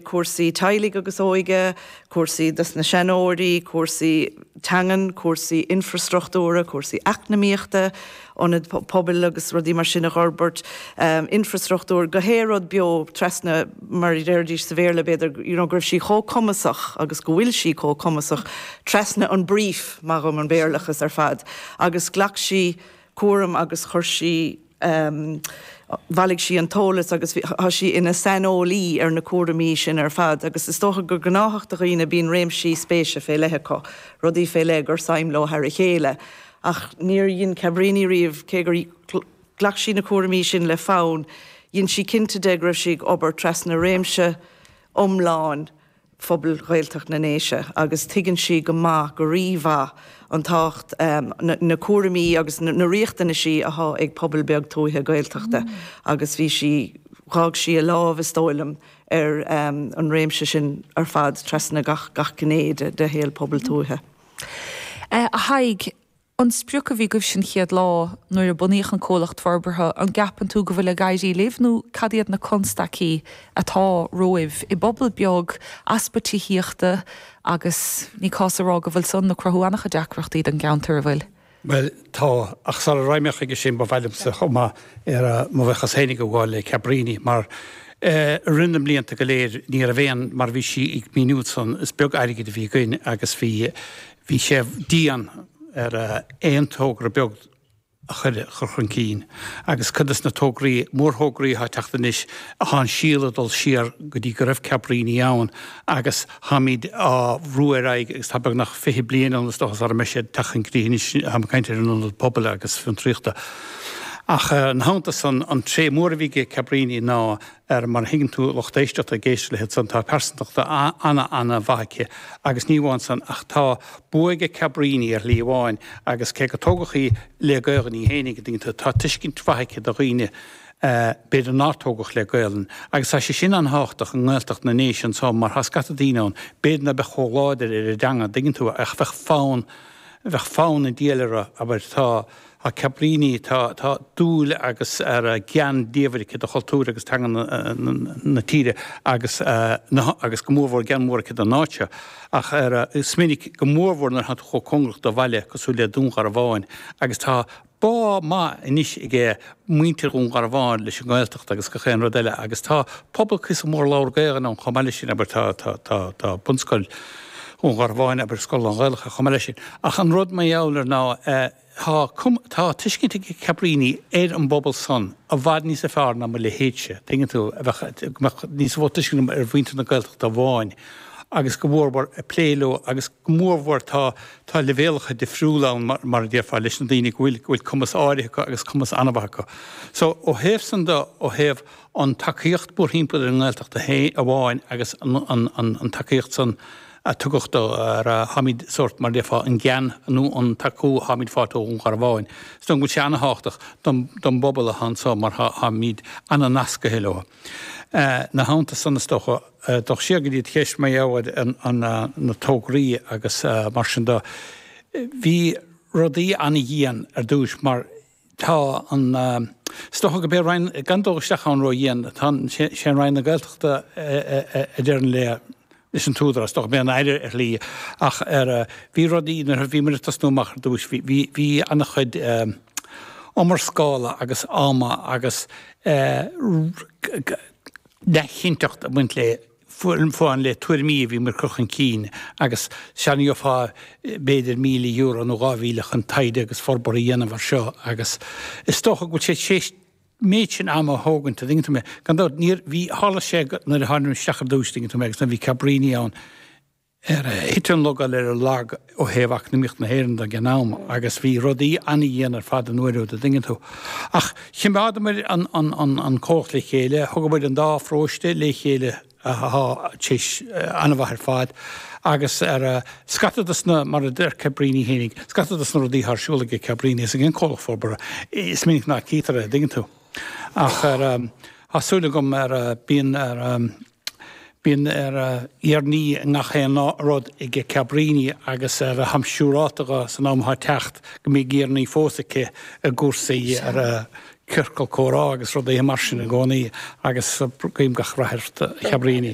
Cúrsaí teaghlaigh agus óige, cúrsaí dos na seanóirí, cúrsaí teangan, cúrsaí infrastruchtúra, cúrsaí eacnamaíochta, ionaid pobail agus rudaí mar sin a dh'fhorbairt, infrastruchtúr, gach aon rud beo trasna, mar a déarfaidís sa Bhéarla b'fhéidir, you know, go raibh sí chomh cumasach agus go bhfuil sí chomh cumasach trasna an brief, maith dhom an Béarlachas ar fad, agus ghlac sí cúram agus chuir sí Bhailigh sí an t-eolas agus tá sí ina saineolaí ar na cúraimí sin ar fad agus is dócha gur gnáthach do dhaoine bíonn réimsí spéise fé leith acu, rudaí fé leith gur suim leo thar a chéile. Ach níor dhein Cabríní riamh, cé gur ghlac sí na cúraimí sin le fonn, dhein sí cinnte de go raibh sí ag obair trasna réimse iomlán phobal Ghaeltacht na nDéise agus tuigeann sí go maith, go rí-mhaith, an tábhacht, na cúraimí agus na riachtanaisí athá ag pobal beag tuaithe Gaeltachta agus bhí sí, dh'fhág sí a lámh, is dóigh liom, ar an réimse sin ar fad trasna gach, gach gné de shaol pobal tuaithe. A Thaidhg, An sprioc a bhí agaibhse an chéad lá nuair a bunaíodh an comhlacht forbartha, an gceapann tú go bhfuil ag éirí libh nó cad iad na constaicí atá romhaibh i bpobal beag, easpa tithíochta agus ní cás a rá go bhfuil san ag cruthú an-chuid deacrachtaí don gceantar, an bhfuil? Bhuel, tá, ach sara raghaidh mé chuige sin ba mhaith liomsa chomh maith ar mo bhuíochas féinig a ghabháil le Cabríní mar i rith na mblianta go léir ní raibh aon, mar a bhí sí ag míniú ansan, is beag airgid a bhí againn agus bhí Bhí sé dian ar aon togra beag a chur chun cinn agus cuid des na tograí, mórthograí atá ag teacht anois, tá an síol ag dul siar go dtí go raibh Cabríní ann agus táimid á bhrú ar aghaidh agus tá beagnach 20 bliain ann is dócha sara mbeidh siad ag teacht chun críche anois, táim ag caint ar an Ionad Pobail agus Fiontraíochta. Ach ina theannta san, an tréith mór a bhí ag Cabríní ná ar mar a thuigeann tú lucht éisteachta ag éisteacht léi ansan, tá pearsantacht ana-ana-mhaith aici agus ní amháin san ach tá bua aige Cabríní ar shlí amháin agus cé gur tógadh í le Gaelainn í fhéinig, an dtuigeann tú, tá tuiscint mhaith aici do dhaoine b'fhéidir nár tógadh le Gaelainn agus tá sé sin an-thábhachtach i nGaeltacht na nDéise anso mar tá scata daoine ann b'fhéidir ná beadh chomh láidir ar an dteanga, an dtuigeann tú, ach bheadh fonn, bheadh fonn an diabhail orthu, abair, tá. Tá Cabríní, tá tá dúil agus ar gean diamhair aici do chultúr agus teanga na tíre agus na agus go mórmhór gean mór aici don áit seo. Ach ar is minic, go mórmhór nuair atá tú chomh cóngarach do bhaile cosúil le Dún Garbhán agus tá bá maith anois aige muintir Dhún Garbhán leis an nGaeltacht agus gach aon rud eile agus tá pobal cuíosach mór a labhair Gaelainn ann chomh maith leis sin, abair tá tá tá tá bunscoil Dhún Garbhán, abair scoil lán-Ghaelach chomh maith leis sin. Ach an rud mar gheall air ná tá tá tuiscint ag Cabríní ar an bpobal san i bhfad níosa fearr ná mo leithéidse, tuigeann tú, a bheadh go mbeadh níos mó tuiscint agam ar mhuintir na Gaeltachta amháin agus go mhórmhór ag plé leo agus go mórmhór tá tá leibhéalacha difriúla ann mar mar a déarfá leis na daoine go bhfuil go bhfuil cumas áirithe acu agus cumas an-mhaith acu. So ó thaobh san de, ó thaobh an tacaíocht mórthimpeall ar an nGaeltacht amháin agus an tacaíocht san a tugadh do ar tháimid sórt mar déarfá an gean nó an tacú tháimid fáighte ó Dhún Garbhán. Is dóigh go bhfuil sé ana-thábhachtach don bpobal atá anso mar tháimid ana-nascaithe leo. Ina theannta san is dócha dul siar go dtí do cheist mar gheall ar na tograí agus mar sin de bhí rudaí ana-dhian ar dtúis mar Tá an, is dócha go b'é Roinn, gan dul isteach ann ró-dhian, tá an, sé an Roinn na Gaeltachta a deireann le, leis an t-údarás, is dócha b'é an Aire ar shlí, ach ar, bhí rudaí, nuair a bhí muid ag tosnú amach ar dtúis, bhí, bhí, bhí an-chuid iomrascála agus ama agus neamhchinnteacht ag baint le. Fán le tuairimí a bhí muid ag cur chun cinn agus sea ní gheofá b'fhéidir €1,000 nó 2,000 chun taighde agus forbartha a dhéanamh air seo agus is dócha go bhfuil sé tar éis méid sin ama a thógaint, an dtuigeann tú mé. Gan dabht, níor, bhí, tharla sé nuair a tháinig muid isteach ar dtús, an dtuigeann tú mé, agus nuair a bhí Cabríní ann, ar thit an logáil ar an lag ó thaobh eacnamaíocht na hÉireann de ag an am agus bhí rudaí an-dhian ar fad an uair úd, an dtuigeann tú. Ach choimeádamair an an comhlacht le chéile, thugamair an dá pharóiste le chéile atá tar éis an-mhaith ar fad agus ar scata dos na, mar a deir Cabríní fhéinig, scata dos na rudaí atá ar siúl ag Cabríní is ag an comhlacht forbartha, is minic ná cítear é, an dtuigeann tú. Ach ar, tá súil agam ar, bíonn ar, Bíonn ar urnaí i ngach aon rud ag Cabríní agus ar tháim siúrálta dhe san am atá ag teacht go mbeidh urnaí fós aici i gcúrsaí ar ciorcal comhrá agus rudaí mar sin i gcónaí agus guím gach rath ort a Chabríní.